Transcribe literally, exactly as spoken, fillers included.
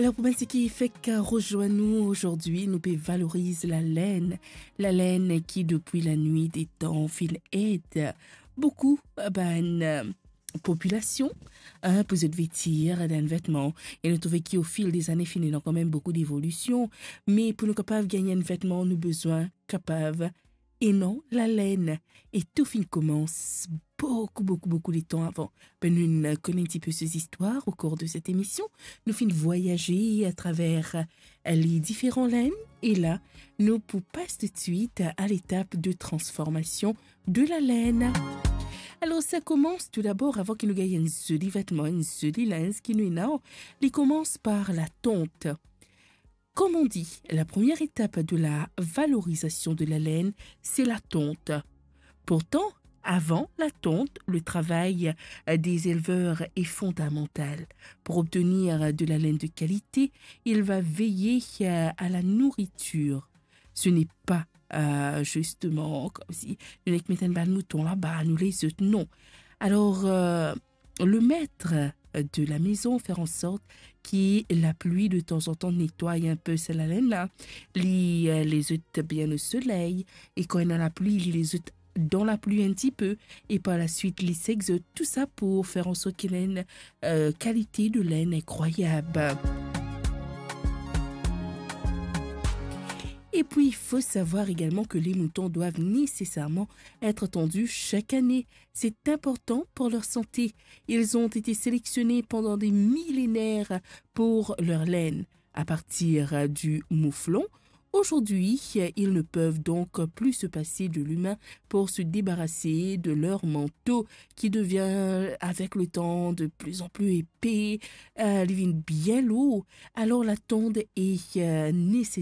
Alor, pou bann seki fek rezwenn nou azordi, nou pe valoriz lalen. Lalen ki, depi lanwit de tan, finn ed boukou bann, eh, popilasion, eh, pou zot vetir dan enn vetman. E nou trouve ki, o fil de zane, finn ena kanmem boukou devolision. Me pou nou kapav gagn enn vetman, nou bizin kapav ena lalen. E tou finn koumans boukou, boukou, boukou letan avan. Be nou konn enn tipe so zistwar o kour de set emision. Nou finn vwayaze atraver, eh, les différents laines. E la, nou pou pas toutswit a letap de transformasion de lalen. Alor, sa koumans tou dabor, avan ki nou gagn enn zoli vetman, enn zoli linz ki nou ena, li koumans par latant. Comme on dit, la première étape de la valorisation de la laine, c'est la tonte. Pourtant, avant la tonte, le travail, euh, des éleveurs est fondamental. Pour obtenir de la laine de qualité, il va veiller, euh, à la nourriture. Ce n'est pas, euh, justement, comme si nou nek met enn bann mouton laba, nou les zot, non. Alors, euh, le maître de la maison faire en sorte ki lapli de tanzantan netway enn pe sa lalen la, li, euh, les zot bien o soley, e kan ena lapli, li les zot dan lapli enn tipe, e par la swit, li sek zot, tou sa pou fer an sort ki ena enn, euh, kalite de laine incroyable. Et puis, il faut savoir également que les moutons doivent nécessairement être tondus chaque année. C'est important pour leur santé. Ils ont été sélectionnés pendant des millénaires pour leur laine. À partir du mouflon, aujourd'hui, ils ne peuvent donc plus se passer de l'humain pour se débarrasser de leur manteau qui devient avec le temps de plus en plus épais, euh, li vinn bien lour. Alors la tonte est, euh, nécessaire.